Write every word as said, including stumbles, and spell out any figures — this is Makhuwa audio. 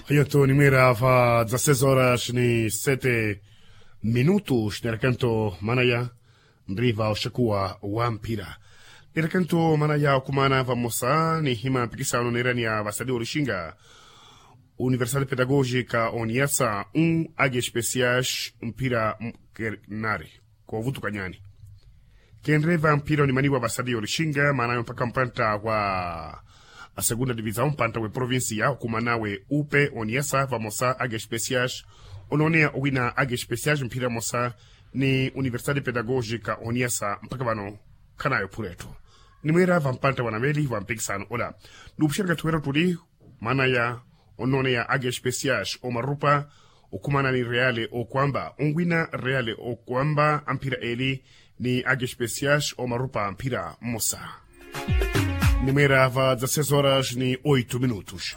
Phayanto nimweera va dza seis horas ni sete minutos neerakanto manaya nriva oxakuwa wa mphira. Neerakanto manaya okumana vamosa nihima mpikisano neeraniya vasali olixinga, universal pedagogica oniyasa un age especiais mphira mkernari. Kovutukanyani kenreva mphira onimaniwa vasali olixinga maanayo mpaka mpantta wa asegunda divisaw mpantta we provincia okumana we upe oniyasa vamosa age especiais. Onooneya owina age especiais mphira mosa ni universidade pedagogica oniyasa mpaka vano khanayo phura etthu. Nimweera va mpantta wa naveli va mpikisano ola nuupuxerya kathuwera ottuli maanaya onnooneya age especiais omarupa okhumana ni reale okwamba onwina reale okwamba amphira eli ni age especiais omarupa amphira mmosa. Nimweera va dza seis horas ni oito minutos.